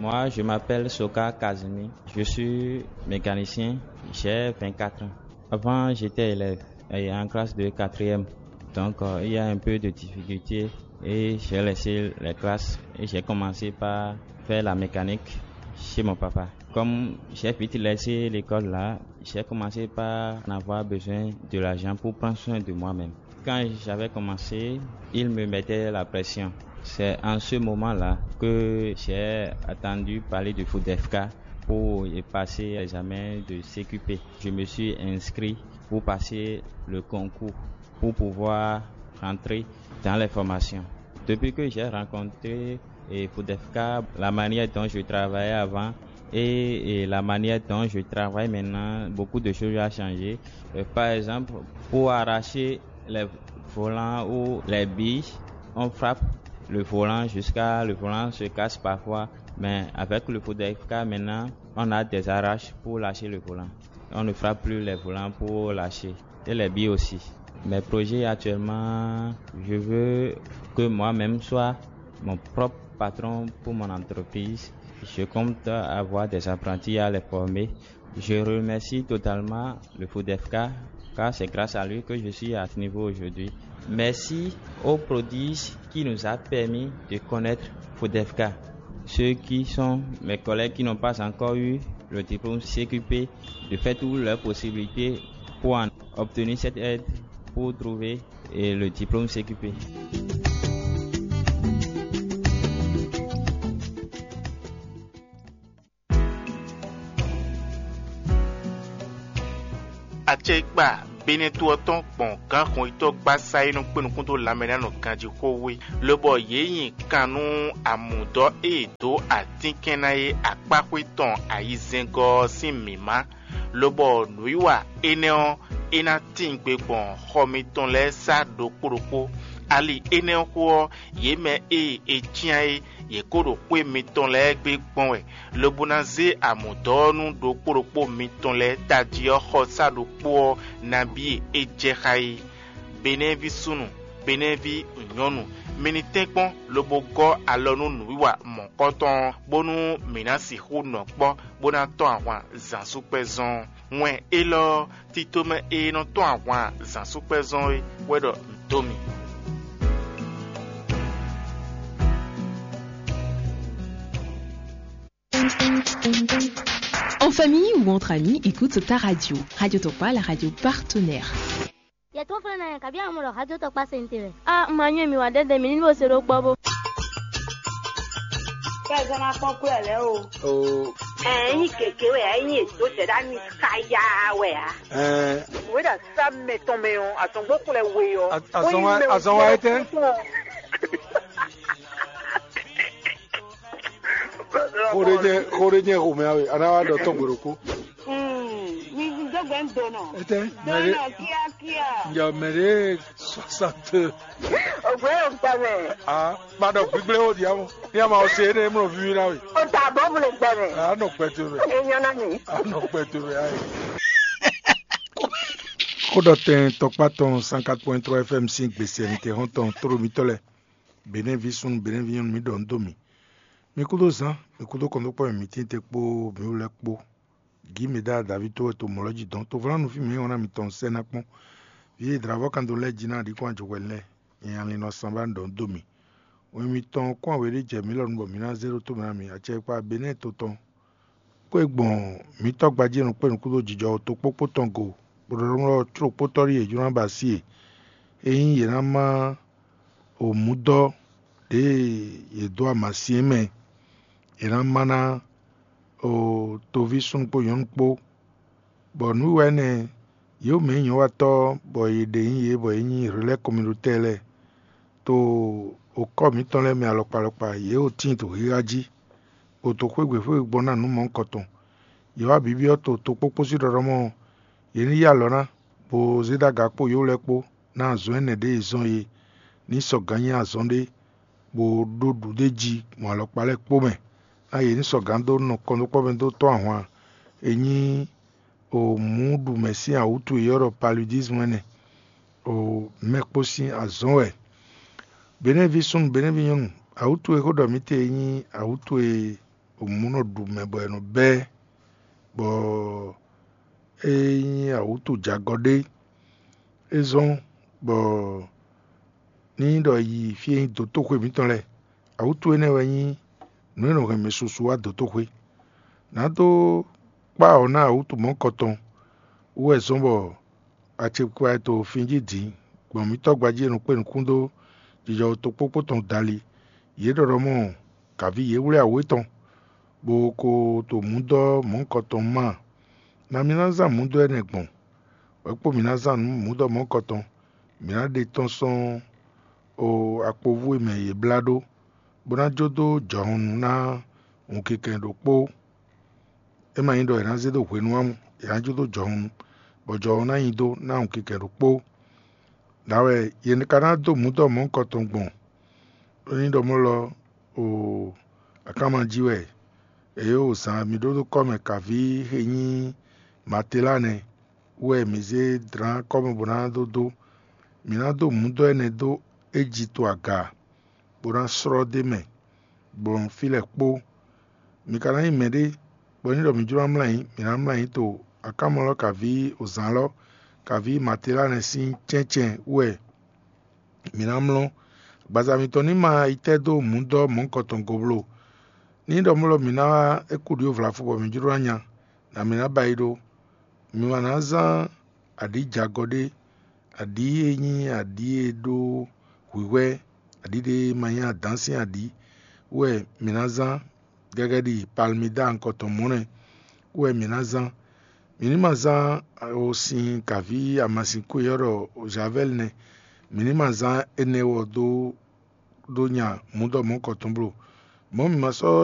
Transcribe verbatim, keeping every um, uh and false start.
Moi, je m'appelle Soka Kazumi. Je suis mécanicien. J'ai vingt-quatre ans. Avant, j'étais élève et en classe de quatrième. Donc, euh, il y a un peu de difficulté et j'ai laissé les classes et j'ai commencé par faire la mécanique chez mon papa. Comme j'ai vite laissé l'école là, j'ai commencé par en avoir besoin de l'argent pour prendre soin de moi-même. Quand j'avais commencé, il me mettait la pression. C'est en ce moment-là que j'ai entendu parler de Foodefka pour y passer l'examen de C Q P. Je me suis inscrit pour passer le concours, pour pouvoir rentrer dans les formations. Depuis que j'ai rencontré et Foodefka, la manière dont je travaillais avant et, et la manière dont je travaille maintenant, beaucoup de choses ont changé. Euh, par exemple, pour arracher les volants ou les billes, on frappe le volant jusqu'à le volant se casse parfois. Mais avec le Foodefka maintenant, on a des arraches pour lâcher le volant. On ne frappe plus les volants pour lâcher. Et les billes aussi. Mes projets actuellement, je veux que moi-même soit mon propre patron pour mon entreprise. Je compte avoir des apprentis à les former. Je remercie totalement le Foodefka, car c'est grâce à lui que je suis à ce niveau aujourd'hui. Merci au prodige qui nous a permis de connaître Foodefka. Ceux qui sont mes collègues qui n'ont pas encore eu le diplôme C Q P, de faire toutes leurs possibilités pour en obtenir cette aide, pour trouver, et le diplôme C Q P. Acɛkpa Benɛtu ɔ́ tɔn gbɔn gǎnhɔnyitɔ́ gbasa e nɔ kpé nukún dó lanmɛ ná nɔ ganjí xó wé, lobɔ yě nyi kan nú amǔdɔ́ e è dǒ atínkɛn ná é akpáxwé tɔn ayizɛ́ngɔ́ ɔ́ sín mǐmá, lobɔ nǔwiwa énɛ́ ɔ́, é ná tíin gbe gbɔn xɔ mitɔn lɛ́ɛ sá ɖokpó ɖokpó. Ali énɛ́ ɔ́ xó ɔ́, yě mɛ e è cyán é, yě kó ɖo xwé mitɔn lɛ́ɛ gbe gbɔn wɛ, lobo ná zé amǔdɔ́ ɔ́ nú ɖokpó ɖokpó mitɔn lɛ́ɛ tají ɔ́ xɔsá ɖokpó ɔ́ nabí e é jɛ xá é. Benɛ́ví súnnu, Benɛ́ví nyɔ̌nu, mi ní tɛ́nkpɔ́n lobo gɔ́ alɔ nú nǔwiwa mɔ̌kɔtɔn ɔ́, bónú mǐ ná sixú nɔ kpɔ́ bó ná tɔ́n ahwan zǎnsúkpɛ́zɔn ɔ́. Wɛn élɔ́ ɔ́, tito mɛ e nɔ tɔ́n ahwan zǎnsúkpɛ́zɔn é wɛ ɖɔ un dó mi. En famille ou entre amis, écoute ta radio. Radio Tokpa, la radio partenaire. Yɛ tó fɛn na yɛ kabi amu lɔ hajɔ tɔ kpa sente wɛ. A ma nyɔ mi wa dɛdɛ mi ni bo se ɖo kpɔ bo. Kɛ zɔn na kpɔn kúrò lɛ o. O. Ɛ nyi keke wɛ ɛ nyi edo sɛ ɖa mi kaya wɛ a. Ɛ. Wɛ ɖa sa mɛ tɔn mɛ o, atɔn gbɔ kúrò lɛ we o. Azɔn wa azɔn wa etɛ. Xo ɖé jɛ xo ɖé jɛ xomɛ awe, ana wa ɖɔ tɔn gbɔdɔ kó. Mi dó gbɛ ń do nɔ. Etɛ, do mɛ ɖé nɔ kíákíá. Njɛ mɛ ɖé soixante. Ògbé yóò gbà mɛ. Ah, ma ɖɔ gbígbé ó di amɔ. Ní a ma ɔ se énɛ́ mlɔ víví ná we. O ta bɔ bolo gbà mɛ. A nɔ kpɛ to mɛ. E nyɔ na mi. A nɔ kpɛ to mɛ ayi. Xó ɖɔ tɛn tɔkpá tɔn cent quatre point trois F M sín gbèsè mi te hɔn tɔn tóɖo mitɔ́ lɛ. Benɛ́ví súnnu, Benɛ́ví nyɔ́nu, mi ɖɔ nǔ dó mì. Mi kúdó zán, mi kúdó kɔntókpɔ́ mǐ tíin te kpó mǐ wú lɛ́ɛ kpó. Gǐ mǐ ɖa Davíd tó wɛ to mɔ̌ lɔ jí dɔn. Tovlánú fí mǐ nyí wana mitɔn sɛ́ ná kpɔ́n. Vǐ e dlǎvɔ́ kan dó lɛ́ɛ jí ná ɖi kɔn ajɔhwɛ lɛ́ɛ, nyanya lin nɔ san ba nǔ dɔ nú dó mì. Wɛn mitɔn kɔn wěɖé jɛ mǐ lɔ nú bɔ mǐ ná zé ɖó tó mǐ ná mi. Acɛkpa Benɛ́ɛ to tɔn. Xwé gbɔn mǐtɔn gbají e nɔ kpé nǔkún dó jijɔ tokpókpó tɔn go, bó ɖɔ ɖɔmlɔ clókpótɔ́ ɖíe è jló ná ba así e. Ényí yě ná má o mǔdɔ́ ɖěe yě dó amasin é mɛ, è nǎ má ná o toví súnnu kpó nyɔ̌nu kpó, bɔ nǔ wiwa énɛ́ yě mɛ nyí nyɔ̌watɔ́, bɔ yě ɖe nyí yě, bɔ yě nyí Relɛ́ɛ kɔnmidotɛ́ lɛ́ɛ. To okɔ́ mǐtɔn lɛ́ɛ mɛ alɔkpa alɔkpa, yě ɖo tíin to xixa jí, bó to xwé gbe xwé gbe gbɔn ná nǔ mɔ̌hunkɔtɔn. Yě wá bibyɔ́ to tokpókpó sín ɖɔɖɔ́ mɔ yě ní yí alɔ ná, bó zé dó aga kpó yǒ lɛ́ɛ kpó, ná azɔn énɛ́ ɖě e zɔn é ní sɔgǎn nyí azɔn ɖé, bó ɖó ɖuɖéjí gbɔn alɔkpa lɛ́ɛ kpó mɛ, ná yě ní sɔgǎn dó nɔ kɔn dó kpɔ́ mɛ dó tɔ́n ahwan e nyí o mǔ ɖu mɛ sín awǔtu e ylɔ́ ɖɔ paludismu énɛ́, o mɛ kpó sín azɔ̌n wɛ. Benɛ́ví súnnu, Benɛ́ví nyɔ́nu, awǔtu e xó ɖɔ mǐ te é nyí awǔtu e mǔ nɔ ɖu mɛ bɔ è nɔ bɛ́, bɔ é nyí awǔtu jagɔ ɖé. É zɔ́n bɔ ní ɖɔ yi fí e nyí dotóxwe mǐtɔn lɛ́ɛ, awǔtu énɛ́ wɛ nyí nǔ e nɔ hɛn mɛ susu wá dotóxwe. Nǎ dó kpá awɔ ná awǔtu mɔ̌kɔtɔn wú wɛ zɔ́n bɔ acɛkpa e to fin jí dǐn gbɔn mǐ tɔ́ gbají e nɔ kpé nukún dó jijɔ tokpókpó tɔn dali. Yě ɖɔ ɖɔ mɔ kǎví yě wlí awě tɔn, bó ko to mǔdɔ́ mɔ̌hunkɔtɔn má. Ná mi ná zán mǔdɔ́ énɛ́ gbɔn, wɛ kpó mi ná zán mǔdɔ́ mɔ̌hunkɔtɔn. Mi ná ɖe tɔ́n sɔ́ o akpovú e mɛ yě blá ɖó, bó ná jó dó jɔhɔnnu ná wunkikɛn ɖokpó. É ma nyí ɖɔ è nǎ zé dó hwenu ǎ, è nǎ jó dó jɔhɔnnu, bɔ jɔhɔnnu ná nyi dó ná wunkikɛn ɖokpó. Nǎ wɛ yě ka ná dó mǔdɔ́ mɔ̌hunkɔtɔn gbɔn? Ɖó ní ɖɔ mɔ̌ lɔ o akánma jí wɛ è yǒ zǎn mi ɖó dó kɔ́ mɛ kaví e nyí Matelánɛ wú wɛ mǐ zé dlǎn kɔ́ mɛ bó ná dó dó. Mǐ ná dó mǔdɔ́ énɛ́ dó Ejitu aga, bó ná slɔ́ dó mɛ gbɔn fí lɛ́ɛ kpó. Mi ka ná nyí mɛɖé bɔ ní ɖɔ mǐ jló ná mlɔ́ ayǐ, mǐ ná mlɔ́ ayǐ to akánmɔlɔ́ kaví ozǎn lɔ kaví Matelánɛ sín cɛ́ncɛ́n wú wɛ mǐ ná mlɔ́. Agbaza mitɔn ní ma yi tɛ́ dó mǔdɔ́ mɔ̌hunkɔtɔn go bló. Ní ɖɔ mɔ̌ lɔ mǐ ná wá é kú ɖǐ vlafu bɔ mǐ jló ná nya, nǎ mǐ ná ba yi ɖó. Mi ma ná zán aɖǐ jagɔ ɖé, aɖǐ e nyí aɖǐ e ɖó hwǐhwɛ́, aɖǐ ɖé e ma nyí adǎn sín aɖǐ wɛ mǐ ná zán, gɛgɛ ɖi palmida nukɔntɔn mɔ̌ nɛ́ wɛ mǐ ná zán. Mǐ ní ma zán sin kǎví amasin kú e ɔ́ ɖɔ Javɛ́li nɛ́. Mǐ ní ma zán énɛ́ wɔ dó dó nya mǔdɔmɔ̌kɔtɔn bló. Mɔ̌ mǐ ma sɔ́